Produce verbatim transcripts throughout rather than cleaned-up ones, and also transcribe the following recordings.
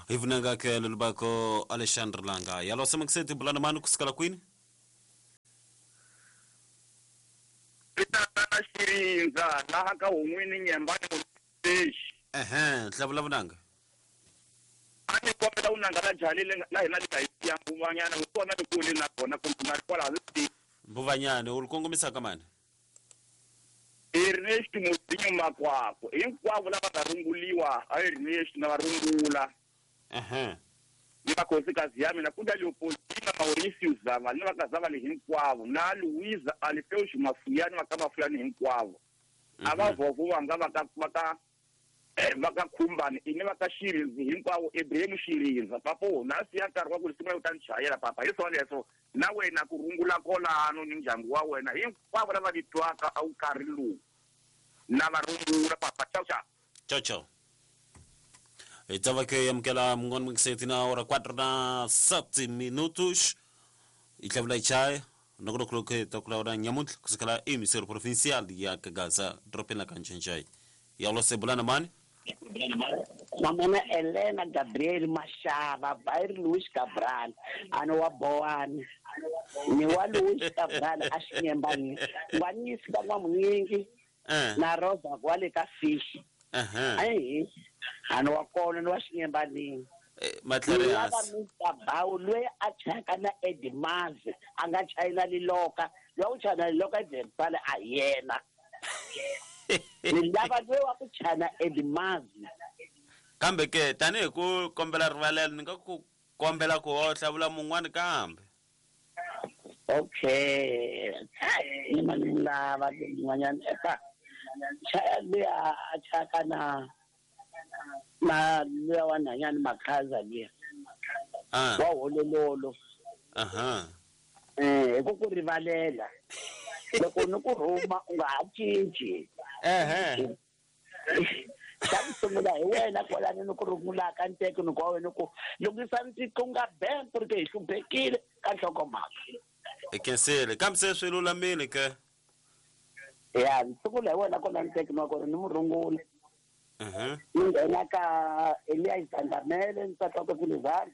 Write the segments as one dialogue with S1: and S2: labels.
S1: Hivunanga ke lulubako Alexandre Langa. Yalo semakuseti bulana mani kusikala kwini?
S2: Pitana Shirinza laha ka un'wini nyembani muteshi.
S1: Ehe, hlavula vunanga.
S2: Ani kombela unanga la jalile la hina lika ya mbuvanyana usona tikuli na kona kumbe kwala zi.
S1: Mbuvanyana u kongomisa ka mani?
S2: Ernest Mudinyo Makwako hinkwavo lava nga runguliwa a Ernest na varungula.
S1: Ehe.
S2: Ni vakhosikazi ya mina kunda Leopoldina Mauricio Zava ni vakazava hinkwavo na Luisa Alfeus Mafuyani va ka Mafuyani hinkwavo. A va vovo vanga va ka va ka va ka Khumbani ini va ka Shirinzi hinkwavo Ibrahim Shirinza papo na siya nkarhi wa ku sungula ku ta ni chayela papa hi swona leswo na wena ku rungula kolano ni ndyangu wa wena hinkwavo lava vitwaka a wu karhi lowu na va rungula papa. Ciao ciao.
S1: Ciao ciao. Estava aqui amukela mun'wana mungiseti na hora quatro na sete minutos i tlhavula i chaya nongonoko ta ku lawula nyamuntlha kusukela emisero provincial ya Kagaza dorobeni la ka Ncencei. Yalo sebulana mani?
S3: Mamana Elena Gabriel Mashava Bair Luis Cabral ano wa Boani ni wa Luis Cabral a xinyembani ngwanisi ka n'wamunyingi na Rosa kwale ka fish.
S1: Ehe.
S3: Ai ano wa kona ni wa xinyembanini.
S1: Matlarias.
S3: Bawu loyi a chaka na Eddie Mazi a nga chayina liloka loyi u chayina liloka Eddie a yena. Ni lava loyi wa ku chana Eddie Mazi.
S1: Kambe ke tanihi ku kombela rivalelo ni nga ku kombela ku ho hlavula mun'wani kambe.
S3: Okay. Ni mani lava mun'wanyana eka chaya luya a chaka na na luya wa nhanyani Makhaza luya.
S1: Ah.
S3: Wa holololo.
S1: Aha.
S3: Eh, ku ku rivalela. Loko ni ku rhuma u nga ha cinci.
S1: Ehe.
S3: Xa ku sungula hi wena kwalano ni ku rungulaka nteko ni ku wa wena ku lunghisa ntiko nga bank ku ri ke hi hluphekile ka nhlokomhaka.
S1: I khensile kambe se swi lulamile ke.
S3: Ya, ni sungula hi wena kwalano nteko ni wa kona ni mu rungula.
S1: Mhm.
S3: Ni nghena ka Elias Zandamele nsati wakwe Philizani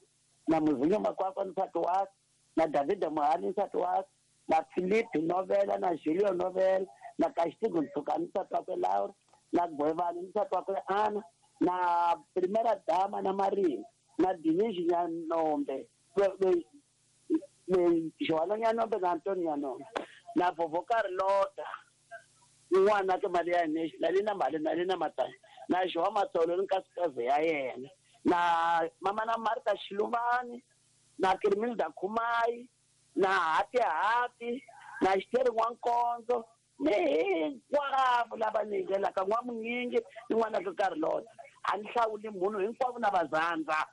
S3: na Muzinyo Makwakwa nsati wakwe na Davida Mohani nsati wakwe na Philip Novela na Julio Novela na Castigo Ntsukani nsati wakwe Laura na Gwevani nsati wakwe Ana na Primera Dama na Marina na Division Nyanombe Joana Nyanombe na Antonio Nyanombe na Vovo Carlota n'wana ke mali ya national na mali na na matani na Joa Matsolo ni nkosikazi ya yena na mama na Martha Shiluvani na Kirmilda Khumai na Hati Hati na Xiteri N'wankonzo ni hinkwavo lava ni nghenaka n'wamunyingi ni n'wana ka Carlota a ni hlawuli munhu hinkwavo na vazandza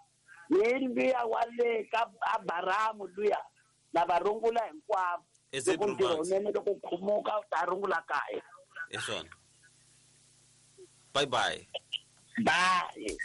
S3: ni luya wa le ka Abaramu luya na va rungula hinkwavo loko ntirho wunene loko khumuka u ta rungula kaya.
S1: Hi swona. Bye bye.
S3: Bye.